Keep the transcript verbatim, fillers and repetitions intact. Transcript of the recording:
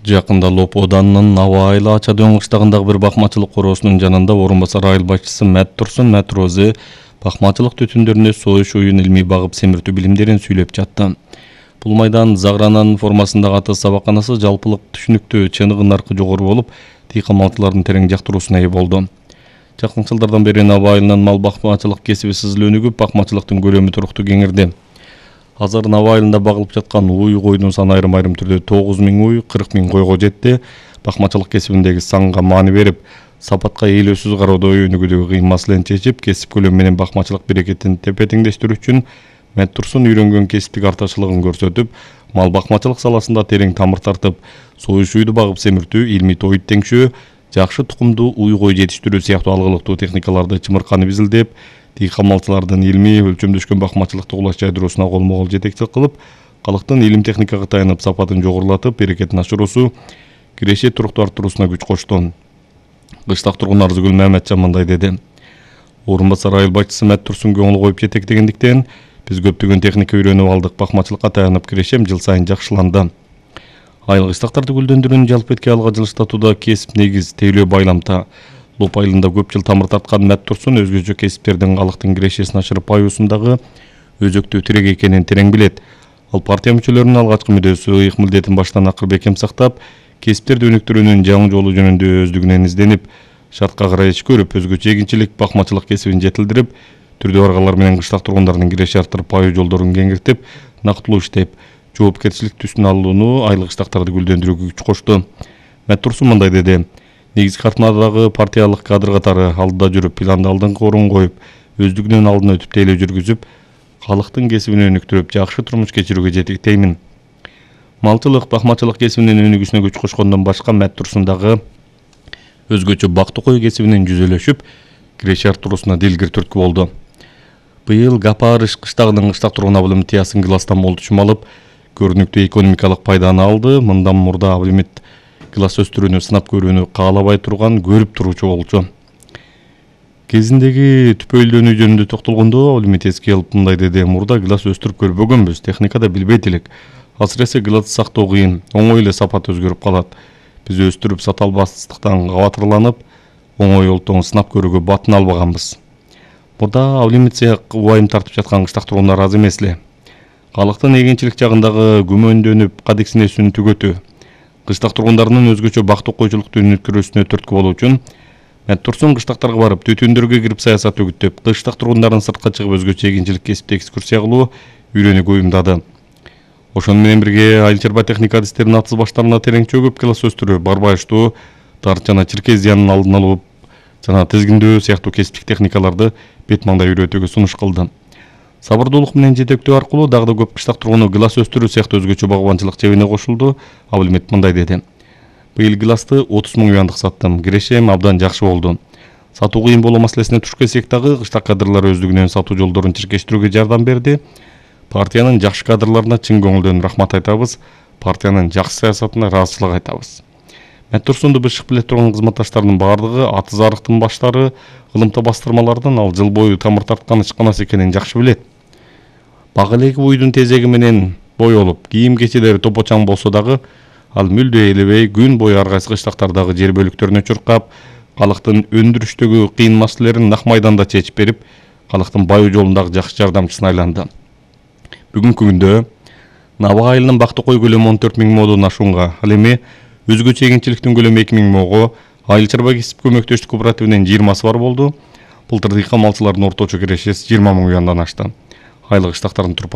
Жакында Лоп Оданынын Аба айылы Ача Дөң кыштагындагы бир бакмачылык короосунун жанында орун басар айыл башчысы Мэт Турсун Мэт Розе бакмачылык түтүндөрүнө союш оюн илмий багып семиртүү билимдерин сүйлөп жатты. Бул майдан Загрананын формасындагы аты сабаканасы жалпылык түшүнүктүү чыныгы наркы жогору болуп, тыйкан малчылардын терең жактыруусуна ээ болду. Жакын жылдардан бери Аба айылынын мал бакмачылык кесиби сызыл өнүгүп, бакмачылыктын көлөмү туруктуу кеңирди. Азыр Аба айылында багылып жаткан уй койдун саны айрым айрым түрдө тогуз миң уй, кырк миң койго жетти. Бакмачылык кесибиндеги санга маани берип, сапатка ээлөөсүз кароодо өнүгүүдөгү кыйын маселени чечип, кесип көлөмү менен бакмачылык берекетин тепе-теңдештирүү үчүн Мэт Турсун үйрөнгөн кесиптик артачылыгын көрсөтүп, мал бакмачылык саласында терең тамыр тартып, союш уйду багып семиртүү, илмий тоют теңшөө, жакшы тукумдуу уй кой жетиштирүү сыяктуу алгылыктуу техникаларды чымырканып изилдеп, тыйкан малчылардын илмий өлчөмдөшкөн бакмачылыкты улас жайдыруусуна колмо-кол жетекчилик кылып, калктын илим техникага таянып сапатын жогорулатып, берекетин ашыруусу, киреше турукту арттыруусуна күч кошту. Кыштак тургун Арзыгүл Маматжан мындай деди. Орун басар айыл башчысы Мэт Турсун көңүл коюп жетектегендиктен биз көптөгөн техника үйрөнүп алдык, бакмачылыкка таянып кирешем жыл сайын жакшыланды. Айыл кыштактарды гүлдөндүрүүнү жалпы этки айылга жылыштатууда кесип негиз тейлөө байламта. Лоп айылында көп жыл тамыр тарткан Мэт Турсун өзгөчө кесиптердин калктын кирешесин ашырып баюусундагы өзөктүү тирек экенин терең билет. Ал партия мүчөлөрүнүн алгачкы мүдөөсү ыйык милдетин баштан акыр бекем сактап, кесиптерди өнүктүрүүнүн жаңы жолу жөнүндө өздүгүнөн изденип, шартка карай иш көрүп, өзгөчө эгинчилик бакмачылык кесибин жетилдирип, түрдүү аргалар менен кыштак тургундардын киреше арттырып, баю жолдорун кеңиртип, нактылуу иштеп, жоопкерчилик түсүн алууну, айыл кыштактарды гүлдөндүрүүгө күч кошту. Мэт Турсун мындай деди. Негизги картмадагы партиялык кадр катары алдыда жүрүп, планды алдыңкы орун коюп, өздүгүнүн алдына өтүп тейлөө жүргүзүп, калктын кесибин өнүктүрүп, жакшы турмуш кечирүүгө жетектеймин. Малчылык, бакмачылык кесибинин өнүгүүсүнө күч кошкондон башка Мэт Турсун дагы өзгөчө бактуу кой кесибинин жүзөлөшүп, киреше арттыруусуна дилгир түрткү болду. Быйыл Гапарыш кыштагынын кыштак тургун Аблимит Гластан болтучум алып, көрүнүктүү экономикалык пайданы алды. Мындан мурда Аблимит Глас өстүрүүнү сынап көрүүнү каалабай турган көрүп туруучу болчу. Кезиндеги түпөйлдөнүү жөнүндө токтолгондо Аблимит эске алып мындай деди. Мурда глас өстүрүп көрбөгөнбүз, техникада билбейт элек. Азыр эсе глас сактоо кыйын, оңой эле сапат өзгөрүп калат. Биз өстүрүп сата албастыктан кабатырланып, оңой олтоң сынап көрүүгө батын албаганбыз. Мурда Аблимит сыяк убайым тартып жаткан кыштак тургундар аз эмес эле. Калктын эгинчилик жагындагы күмөндөнүп кадексинесүн түгөтүү, кыштак тургундарынын өзгөчө бактуу койчулукту өнүктүрүүсүнө түрткү болуу үчүн Мэт Турсун кыштактарга барып, түтүндөргө кирип саясат өгүттөп, кыштак тургундарын сыртка чыгып өзгөчө эгинчилик кесипте экскурсия кылуу, үйрөнүүгө уюмдады. Ошону менен бирге айыл чарба техника адистеринин атыс баштарына терең чөгүп, глас өстүрүү, барбайыштуу, дарт жана чиркез зыянын алдын алуу жана тизгиндөө сыяктуу кесиптик техникаларды бет маңдай үйрөтүүгө сунуш кылды. Сабырдуулук менен жетектөө аркылуу дагы да көп кыштак тургуну глас өстүрүү сыяктуу өзгөчө багбанчылык чебине кошулду. Аблимит мындай деди. Быйыл гласты отуз миң уяндык саттым. Кирешем абдан жакшы болду. Сатуу кыйын болуу маселесине туш келсек дагы, кыштак кадрлар өздүгүнөн сатуу жолдорун чиркештирүүгө жардам берди. Партиянын жакшы кадрларына чын көңүлдөн рахмат айтабыз. Партиянын жакшы саясатына ыраазычылык айтабыз. Мэт Турсунду бышык биле турган кызматташтарынын бардыгы аты зарыктын баштары, ылымта бастырмалардан ал жыл бою тамыр тарткан ишканасы экенин жакшы билет. Бак элеги уйдун тезеги менен боелуп, кийим кечелери топочаң болсо дагы, ал мүлдө элебей күн бою ар кайсы кыштактардагы жер бөлүктөрүнө чуркап, калктын өндүрүштөгү кыйын маселелерин нак майданда чечип берип, калктын баю жолундагы жакшы жардамчысына айланды. Бүгүнкү күндө Аба айылынын бактуу кой көлөмү он төрт миң модон ашуунга, ал эми өзгөчө эгинчиликтин көлөмү эки миң мого, айыл чарба кесип көмөктөштүк кооперативинин жыйырмасы бар болду. Былтыр тыйкан малчылардын орточо кирешеси жыйырма миң уяндан ашты. Айыл кыштактардын